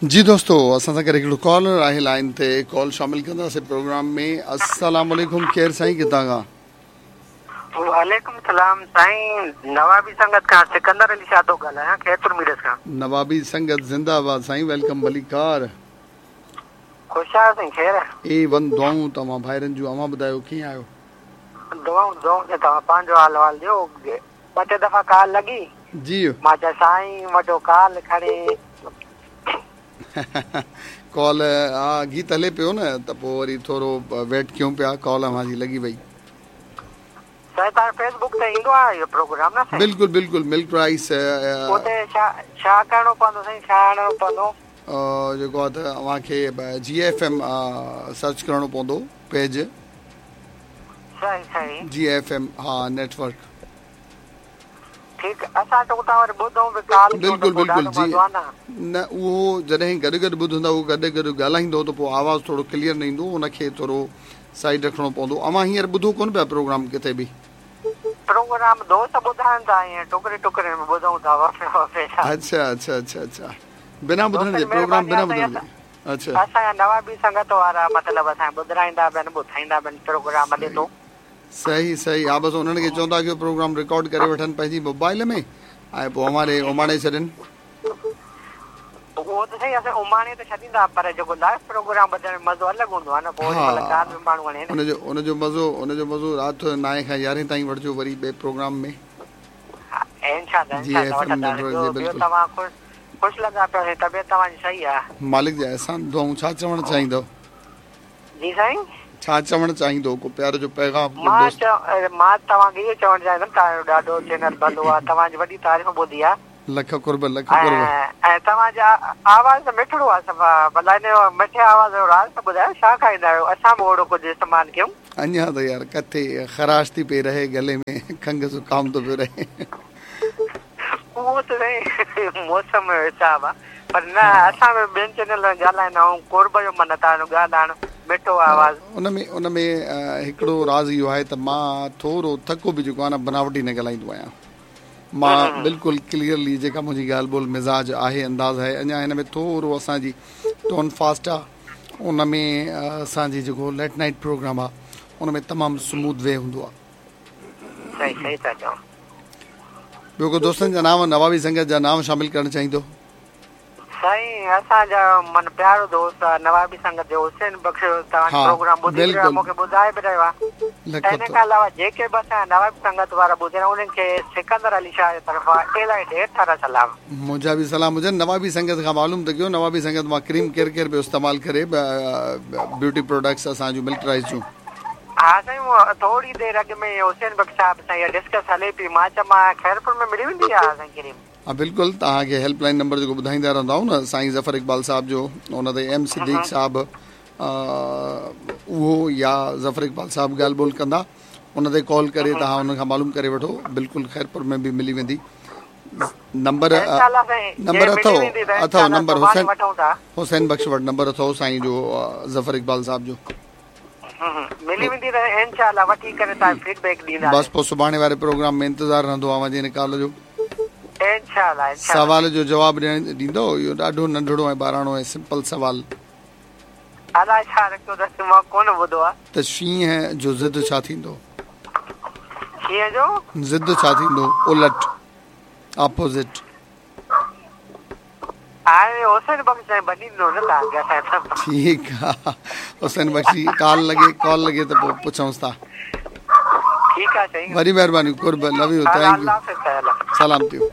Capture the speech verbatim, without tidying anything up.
जी दोस्तो, असां सां गॾु हिकिड़ो कॉलर आहे लाइन ते, कॉल शामिल कंदासीं प्रोग्राम में। अस्सलाम वालेकुम, केरु साईं, किथां खां? वालेकुम सलाम साईं, नवाबी संगत खां सिकंदर अली शाह थो ॻाल्हायां, खैरपुर मीरस खां। नवाबी संगत जिंदाबाद साईं, welcome भलीकार। ख़ुशि आहियो साईं? ख़ैर ए वन दुआऊं तव्हां भाइरनि जूं, अव्हां ॿुधायो कीअं आहियो? दुआऊं दुआऊं त तव्हां पंहिंजो हाल वाल ॾियो। ॿ टे दफ़ा कॉल लॻी जी, मां चयो साईं वॾो कॉल खणी। कॉल हा गीत हले पियो न, त पोइ वरी थोरो वेट कयूं पिया, कॉल अव्हां जी लॻी वई। साईं तव्हां फेसबुक ते ईंदो आहे इहो प्रोग्राम न साईं? बिल्कुलु बिल्कुलु, मिल्क राइस। उते छा छा करिणो पवंदो साईं, छा आणणो पवंदो? जेको आहे त अव्हांखे जी एफ एम सर्च करिणो पवंदो पेज। सही सही, जी एफ एम हा नेटवर्क। ठीकु, असां त उतां वरी ॿुधूं बि कॉल। बिल्कुलु बिल्कुलु जी, न उहो जॾहिं गॾु गॾु ॿुधंदा, उहो गॾु गॾु ॻाल्हाईंदो त पोइ आवाज़ थोरो क्लियर न ईंदो, उनखे थोरो साइड रखिणो पवंदो। अव्हां हींअर ॿुधो कोन पिया प्रोग्राम किथे बि? प्रोग्राम दोस्त ॿुधाइनि था, ईअं टुकड़े टुकड़े में ॿुधूं था। अच्छा अच्छा अच्छा अच्छा, बिना ॿुधण जे प्रोग्राम, बिना ॿुधण जे? अच्छा, असांजा नवाबी संगत वारा मतिलबु असांखे ॿुधाईंदा बि आहिनि, ॿुधाईंदा बि आहिनि प्रोग्राम हले थो। सही सही, हा बसि उन्हनि खे चवंदा कयो प्रोग्राम रिकॉर्ड करे वठनि पंहिंजी मोबाइल में ऐं पोइ अव्हां ॾे उमाणे छॾनि। उहो त सही, असां उमाणे त छॾींदा, पर जेको लाइव प्रोग्राम ॿुधण में मज़ो अलॻि हूंदो आहे न, पोइ कार बि माण्हू हणे। उनजो उनजो मज़ो उनजो मज़ो राति नाए खां यारहें ताईं वठिजो वरी ॿिए प्रोग्राम में। इंशाअल्लाह इंशाअल्लाह। ॿियो तव्हां ख़ुशि लॻा पिया, तबियत तव्हांजी सही आहे? मालिक जा अहसान, दुआऊं। छा चवणु चाहींदो? जी साईं, छा चवणु चाहींदो, को प्यार जो पैगाम? मां मां तव्हांखे इहो चवणु चाहींदुमि, तव्हांजो ॾाढो चैनल भलो आहे, तव्हांजी वॾी तारीफ़ ॿुधी आहे। लख कुर्ब, लख कुर्ब। ऐं तव्हांजा आवाज़ त मिठड़ो आहे सफ़ा, भला हिन मिठे आवाज़ जो राज़ त ॿुधायो, छा खाईंदा आहियो? असां बि ओहिड़ो कुझु इस्तेमालु कयूं। अञा त यार किथे ख़राश थी पई रहे गले में, खंघ ज़ुकाम थो पियो रहे। उहो त साईं मौसम जो हिसाबु आहे, पर न असां बि ॿियनि चैनल ॻाल्हाईंदा आहियूं, कुर्ब जो माना तव्हांजो ॻाल्हाइणु मिठो आवाज़। उन में उन में हिकिड़ो राज़ इहो आहे त मां थोरो थको बि जेको आहे न बनावटी न ॻाल्हाईंदो आहियां। मां बिल्कुलु क्लियरली जेका मुंहिंजी ॻाल्हि ॿोल मिज़ाज आहे, अंदाज़ आहे। अञा हिन में थोरो असांजी टोन फास्ट आहे, उन में असांजी जेको लेट नाइट प्रोग्राम आहे उन में तमामु स्मूथ वे हूंदो आहे। सही सही था चओ। ॿियो को दोस्तनि जा नाम, नवाबी संगत जा नाम शामिल करणु चाहींदो? साईं असांजा मन प्यारो दोस्त आहे नवाबी संगत जो हुसैन बख़्श, तव्हांजो प्रोग्राम ॿुधी रहियो, मूंखे ॿुधाए बि रहियो आहे। इन खां अलावा जेके बि असांजा नवाबी संगत वारा ॿुधी रहिया, उन्हनि खे सिकंदर अली शाह जे तरफ़ां इलाही ढेर सारा सलाम। मुंहिंजा बि सलाम हुजनि। नवाबी संगत खां मालूम त कयो, नवाबी संगत मां क्रीम केरु केरु पियो इस्तेमालु करे ब्यूटी प्रोडक्ट्स असांजूं मिल्क राइस जूं? हा साईं, थोरी देरि अॻु में हुसैन बख़्श साहिब सां इहा डिस्कस हले पई, मां चयो मां ख़ैरपुर में मिली वेंदी आहे साईं क्रीम? हा बिल्कुलु, तव्हांखे हेल्पलाइन नंबर जेको ॿुधाईंदा रहंदा आहियूं न, साईं ज़फ़र इक़बाल साहिब जो, उन ते एम सिद्दीक़ साहिब उहो या ज़फ़र इक़बाल साहिब ॻाल्हि ॿोल कंदा, उन ते कॉल करे तव्हां उन खां मालूम करे वठो, बिल्कुलु ख़ैरपुर में बि मिली वेंदी। नंबर नंबर अथव अथव नंबर हुसैन हुसैन बख़्श वटि नंबर अथव साईं जो ज़फ़र इक़बाल साहिब जो, मिली वेंदी त इंशाअल्लाह वठी करे तव्हां फीडबैक ॾींदा। बसि पोइ सुभाणे वारे प्रोग्राम में इंतज़ार रहंदो अव्हां जे हिन कॉल जो। इंशाअल्लाह इंशाअल्लाह। सवाल जो जवाबु ॾियण ॾींदो? इहो ॾाढो नंढड़ो ऐं ॿाराणो ऐं सिंपल सवाल। अलाए छा रखियो अथसि, मां कोन ॿुधो आहे। त शींहं जो ज़िद छा थींदो? शींहं जो ज़िद छा थींदो? उलट, अपोज़िट। हाणे हुसैन बख़्श साईं बनी ॾिनो न तव्हांखे असां। ठीकु आहे, हुसैन बख़्श जी कॉल लॻे, कॉल लॻे त पोइ पुछूंसि था। ठीकु आहे साईं, वॾी महिरबानी, कुर्ब, लव you, thank you, सलाम थियो।